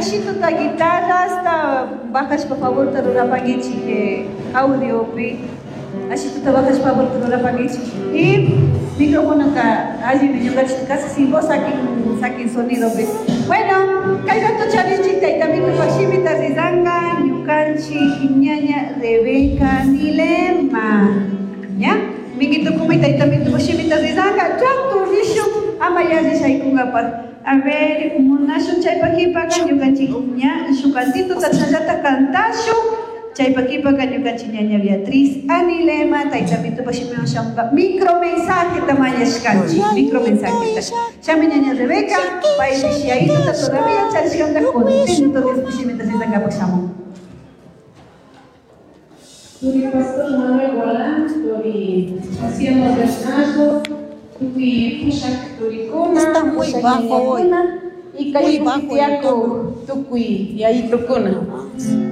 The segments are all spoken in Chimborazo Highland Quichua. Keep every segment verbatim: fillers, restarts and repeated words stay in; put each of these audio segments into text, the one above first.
Ashituta guitarra hasta bajashpa favorta rurapankichik eh, audiopi. Ashituta bajashpa favorta rurapankichik. Y micrófono ka allimi ñukanchik casi sin voz sakin sakin sonido pi. Bueno, kay rato charinchik tayta Mitupak shimita rizanka ñukanchik ñaña Rebeca Nilema. ¿Ya? Minguito kuma tayta Mitupak shimita rizanka rato rishun ama yalli shaykunkapaq. A ver, munashun chaypak qhipaka ñukanchik ña shuk cantituta chashallata cantashun. Chaypak qhipaka ñukanchik ñaña Beatriz Anilema tayta Mitupak shimiwan shamunka micromensaje mañashkanchik micromensaje. Chami ñaña Rebeca, paypish yayituta todavía charishkanta contento Dios shimita rizankapak shamun. Turi Pastor Manuel Gualán, turi Haciendo Bernardo, tukuy pushak turikuna, Está muy pushak bajo hoy. ñañakuna, y kay Muy bajo el tiyaku tukuy yayitukuna.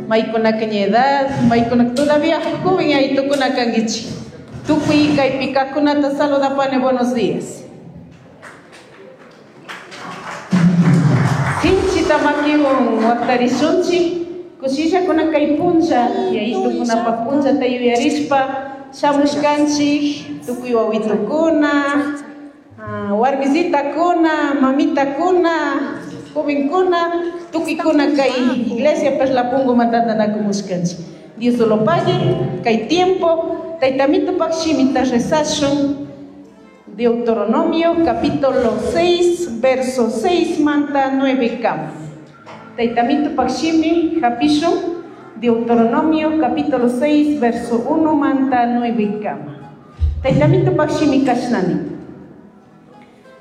Maykunaka ña edad, maykunaka todavía joven yayitukuna kankichik. Tukuy kaypi kaqkunata saludapani, buenos días. Sinchita makiwan waqtarishunchik, kushillakuna kay punlla, yayitukunapaq punllata yuyarishpa shamushkanchik, tukuy wawitukuna, ah, warmisitakuna, mamitakuna, jovenkuna, tukuykuna kay iglesia Perlapungo matantanakumuskanchik. Dios lo pague, kay tiempo, tayta Mitupak shimita rezashun. Deuteronomio capítulo seis, verso seis manta nueve kama. Tayta Mitupak shimi hapishun. Deuteronomio capítulo seis, verso uno manta nueve kama. Tayta Mitupak shimi kashnani.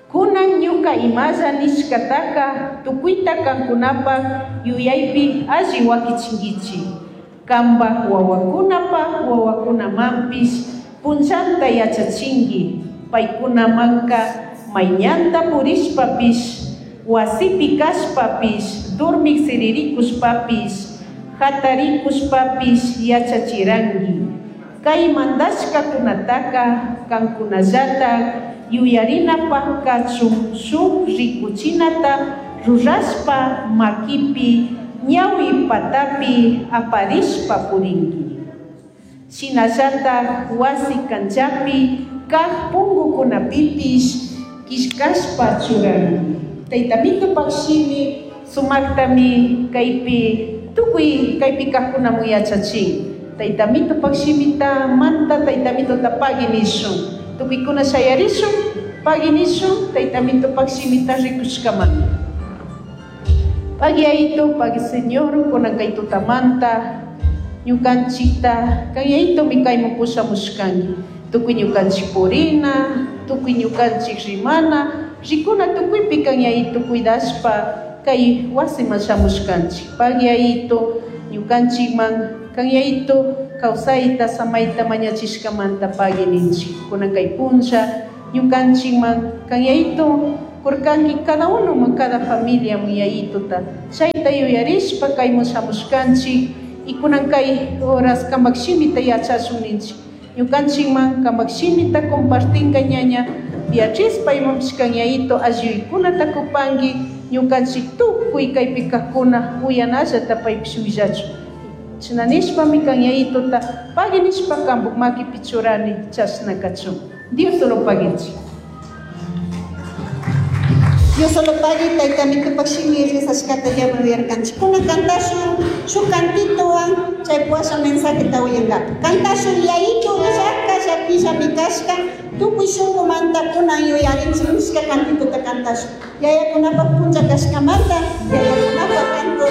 Kunan ñuka imalla nishkataka tukuyta kankunapaq yuyaypi alli wakichinkichik. Kanpak wawakunapaq wawakunamanpish punllanta yachachinki. Paykunamanka mayñanta purishpapish, wasipi kashpapish, durmik siririkushpapish, hatarikushpapish yachachiranki. Kay mandashkakunataka kankunallata yuyarinapaq kachun shuk rikuchinata rurashpa makipi ñawi patapi aparishpa purinki. Shinallata wasi kanchapi kaq punkukunapipish killkashpa churanki. Tayta Mitupak shimi sumaktami kaypi tukuy kaypi kaqkunaman yachachin. Tayta Mitupak shimita manta tayta Mituta pagui nishun. Tukuykuna shayarishun, pagui nishun, tayta Mitupak shimita rikushkamanta. Pagui ayito, pagui Señor, kunan kay tutamanta, ñukanchikta, kay ayito mi kayman pushamushkanki. Tukuy ñukanchik purina, tukuy ñukanchik rimana, rikuna tukuypi kan yayito cuidashpa kay wasiman shamushkanchik. Pagui ayito, ñukanchikman kan yayito kawsayta samayta mañachishkamanta pagui ninchik. Kunan kay punlla ñukanchikman kan yayito kurkanki cada uno man cada familia man yayituta. Chayta yuyarishpa kayman shamushkanchik y kunan kay horas kamak shimita yachashun ninchik. Ñukanchikman kamak shimita compartinka ñaña Beatriz paymanpish kan yayito alliykunata kupanki ñukanchik tukuy kaypi kaqkuna uyanallata paypish willachun. Chashna nishpami kan yayituta pagui nishpa kanpuk makipi churani chashna kachun. Dios lo paguichik. Dios lo pague, tayta Mitupak shimi rizashkata llama uyarkanchik. Kunan kantashun shuk cantitowan chay puwasha mensajeta uyankapa. Kantashun yayito willaka llakillami kashka tukuy shunkumanta kunan yuyarinchik nishka cantitota kantashun. Yayakunapak punlla kashkamanta yayakunapak canto.